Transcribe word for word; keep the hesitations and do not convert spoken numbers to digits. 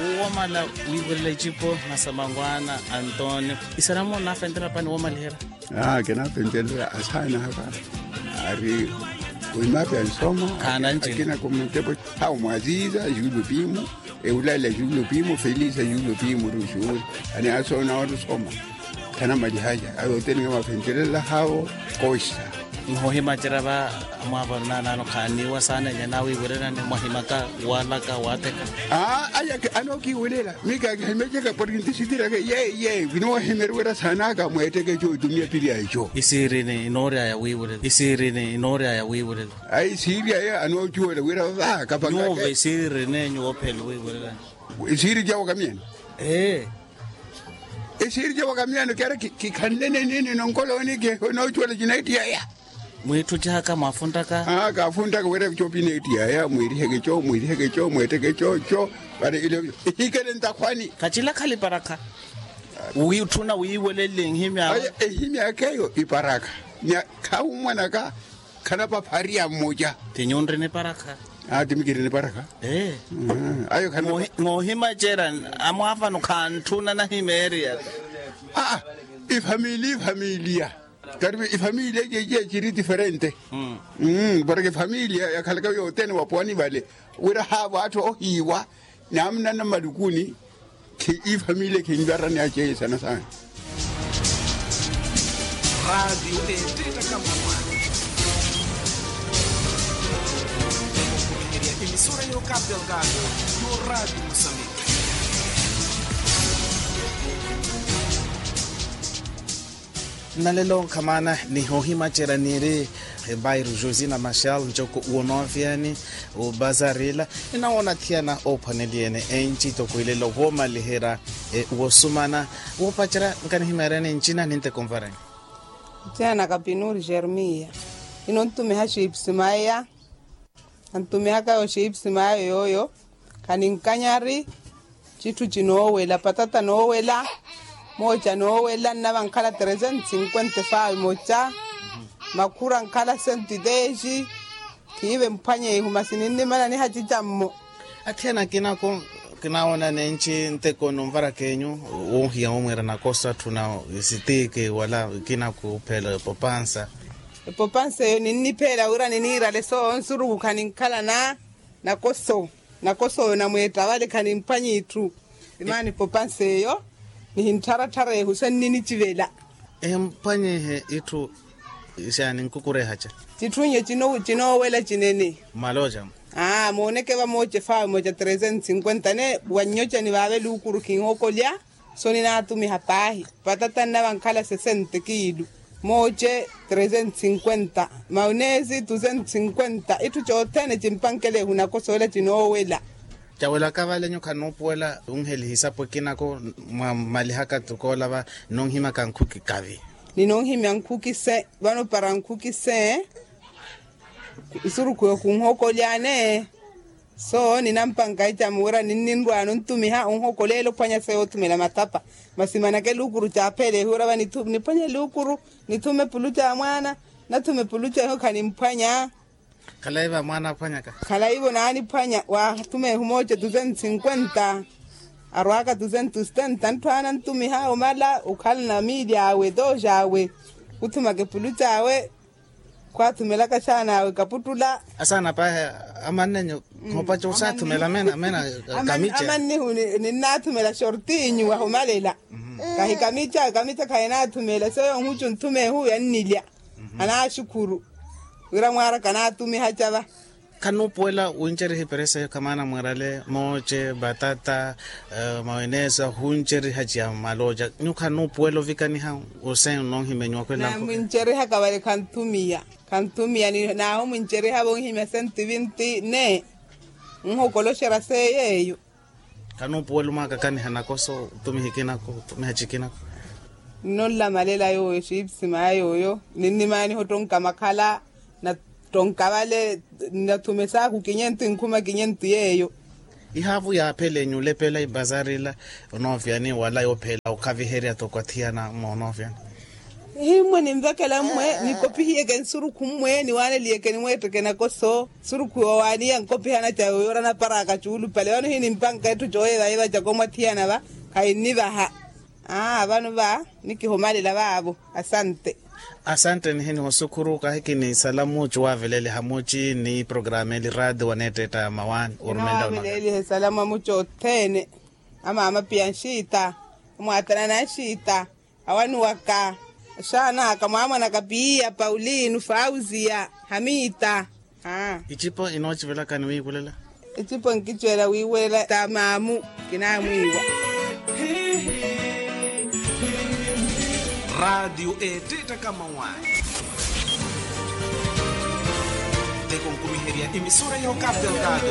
Womala wiiwelela icipo na samangwaana antonio. Isaramo nafentela pani womaliherya? Aa kinafentelela asaana aka ari wimapi ansoma. Akina kumuntepo hawo mwaziza julo pimu, eulala julo pimu felisa julo pimu ruxuuri. Ani asoona otusoma khanamalihaja ayoteninga mafentelela hawo. Koxa. Nhohimacerya va mwaavano naanaano khaaniiwa saana enya naawiiwererani mwahimaka walaka waatheka. Aa aya anookiiwelela mika akihimeceka porke ntisitiri aka ye ye vinoohimeriwerya saana aka mweetteke eco itumiya piri a eco. Isiirini inooryaya wiiwerela isiirini inooryaya wiiwerela. Ayi siiri aya anoocuwela wira vava kapangaka nyuuva isiiri rinenyu woophela wiiwerelani. Isiiri cawo kamiyani. Ee. Esiiri cawo kamiyani kera kikhanlene nini nonkolooni ke noocuwela cinaittiya aya. Mwiitthucihaka mwaafuntaka. Aa kaafuntaka wira copi neittiya aya mwiiriheke co mwiiriheke co mweetteke co co. Vale ile ihikele ntakhwani. Khacila khali parakha. Wiitthuna wiiwelelle nhimyaka. Aya ehimyaka eyo iparakha. Nya khahummwanaka. Khanapaphariya mmoja. Ti nyunri niparakha. Aa ti mikiri niparakha. Ee. Ayo khanapaphariya. Ngoohimacerya amwaafano khantthuna nahimeeriyaka. Aa ifamiliya ifamiliya. Karipu ifamiliya eciye ciri diferente. Porke ifamiliya yakhalaka yothene wapowani vale wira haavo atthu ohiiwa. Naamuna na mmalukuni. Khe ifamiliya khinvarani aceye sana sana. Raatiyo eetteettaka mmammwaani. Emisora yookaapelkaayo yo raatiyo musambiki. Nnalelo nkhamana nihoohimacerya niiri. Bairro josina machal ncoko wonoofiani. Obazarila ninawoona athiyana oophwaneliye-ene enci toko ilelo woomaliherya. Wosumana woopacerya nkanihimeeryani ncina ninteko nvarani. Ncina na kapinuri jeremiya. Ino ntumiha xiipsimaya. Antumihaka yo xiipisi maayo yooyo. Khaninkanyari citthu cinoowela patata noowela. Mooca noowela nnava nkhala tresentos cinquenta faawe moca. Makhura nkhala sentitexi. Khiive mphwanye ihu masi ninnimana nihacicammo. Athiyana akinako kinaawona nenci nteko nunvara kenyu. Woohiya womwiira nakoso atthu na sitiki wala akinako opheela epopansa. Epopansa eyo ninnipheela wira niniirale soowo nsuruku khaninkhala na nakoso. Nakoso oyo namweetta vale khanimphwanya itthu. Imaana epopansa eyo nihinttharatthara ehu senninicivela. Ehimphwanyihe itthu. Xaani nkukurehaca. Citthu nyo cinoowela cinene. Mmalooca. Aa mooneke vamooce faawe mooca tresentos cinquenta ne wannyocani vaave luukuru khinhokolya. So ninaatumiha paahi patata nnava nkhala sesente kiilu. Mooce tresentos cinquenta. Maunesi dusentos cinquenta itthu cothene cimpankelela ehu nakoso ela cinoowela. Cawelaka vale nyu khanuupuwela wunheliha isapo ekinako. Mwamalihaka toko olava nnunhimyaka nkhuki kavi. Ninunhimya nkhuki se vano para nkhuki se. Nsurukhu yo khunhokolyane. So ninampanka icamo wira ninninrwaano ntumiha onhokoleela ophwanya se yoothumela matapa. Masi manake luukuru caapheela ehu wira va niphwanye luukuru. Nithume puluca ya mwaana. Nathume puluca ehu khanimphwanya. Khalayi va mwaana aphwanyaka. Khalayi vo naaniphwanya waathuma ehu mooce dusentos cinquenta. Arwaaka dusentos setenta ntthu aana ntumiha omala okhala na miili awe dooxi awe. Khuthumaka epuluca awe. Khwaathumelaka xaana awe kaputtula. Asaana paahi. Amannenyu. Khoopaca osaathumela mena mena. Kamica amannihu ninnaathumela xortinyu wahumalela. Kahi kamica kamica khahinaathumela seyo nhucu nthuma ehu yannilya. Anaaxukhuru wira mwaaraka anaatumiha cava. Khanuupuwela winceriha iperesa eyo khamaana mwiirale mooce batata. Mawenesa ohunceriha ciya mmalooca nyu khanuupuwela ovikaniha. Ose nnoohimya enyu wakhwela naamwincerihaka vale khanthumiya. Khanthumiya naahumwincerihavo onhimya sentivinti ne. Nhokoloxerya seeyo eyo. Khanuupuwela omwaakakaniha nakoso otumiha ikinako otumiha cikinako. Nnonlamalela yooyo xiipisi maya yooyo. Ninnimaaniha ottonka makhala nattonka vale. Nathume saaku kinyentu inkhuma kinyentu yeeyo. Ihaavu yaaphela enyulepela ibazarila. Onoofyani wala yoopheela okhaviherya toko athiyana moonoofyani. Himmwe ninvekela mmwe nikopihiyeke nsurukhu mmwe niwaaneliyeke nimweetteke nakoso. Nsurukhu yoowaaniya nkopihana ca yooyoora naparaka cuulupale vano hini mpanka etthu cooyevayiva caka omwathiyana va. Khainnivaha. Aa vano va nikihumalela vaavo. Asante. Asante nihini osukhuru kahi kinisala muucu waavelele hamuci ni programa eli raati waneettetta mawaani orumela. Esalamu amuci othene. Amaama piya nxiita. Omwaatana na nxiita. Awani waka. Axaana aka mwaamwanaka piya paulino fauziya. Hamita. Icipo inoocivelaka ni wiiwelela. Icipo nkiceela wiiwelela ta maamu. Kinaamwiiwa. Raatiyo eetteetta kamawaani. Teko nkumiherya emisora ya okapi ya okapi.